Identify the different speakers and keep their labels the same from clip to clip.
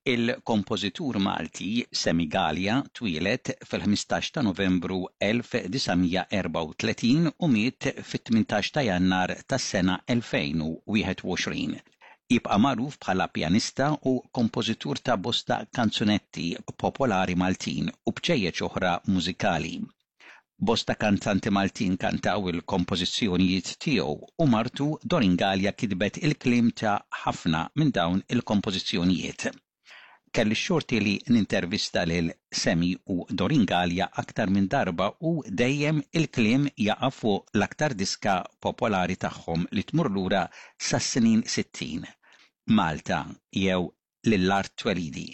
Speaker 1: Il-kompożitur Malti Sammy Galea twieled fil-15 ta' Novembru 1934 u miet fit-18 ta' Jannar tas-sena 2021. Jibqa' magħruf bħala pjanista u kompożitur ta' bosta kanzunetti popolari Maltin u bċejjeċ oħra mużikali. Bosta kantanti Maltin kantaw il-kompożizzjonijiet tiegħu u martu Doreen Galea kitbet il-kliem ta' ħafna minn dawn il-kompożizzjonijiet. Kelli x-xorti li nintervista lil Sammy u Doreen Galea aktar minn darba u dejjem il-kliem jaqa' fuq l-aktar diska popolari tagħhom li tmur lura sas-snin 60, Malta jew lil art twelidi.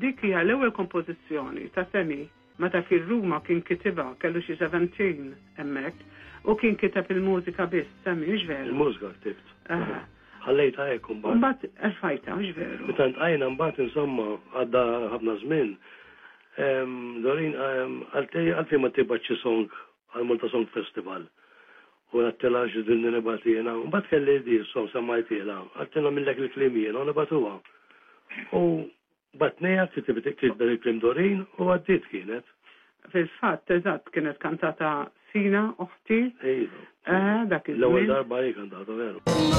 Speaker 2: Dik hija l-ewwel kompożizzjoni ta' Sammy meta kien Ruma kien kitibha, kellu xi 17 hemmhekk, u kien kiteb il-mużika biss, Sammy, hux veru?
Speaker 3: Il-mużika ktibt. Ħallejtha hekk imbagħad.
Speaker 2: Imbagħad erfajtha, hux veru?
Speaker 3: Meta ltqajna mbagħad insomma għadda ħafna żmien, Doreen qaltli għalfejn ma tibgħatx xi song għall-Malta Song Festival. U għedtilha x'dinni nibgħat jiena. Mbagħad kelli di s-song semmajtilha. Qaltli nagħmillek il-kliem jiena u nibgħatuha. U bagħtniha, kitbet il-kliem Doreen u għaddiet kienet.
Speaker 2: Fil-fatt, eżatt, kienet kantata Sina, oħti.
Speaker 3: Iva.
Speaker 2: Eh, dak iż-żmien.
Speaker 3: L-ewwel darba hi kantata, veru.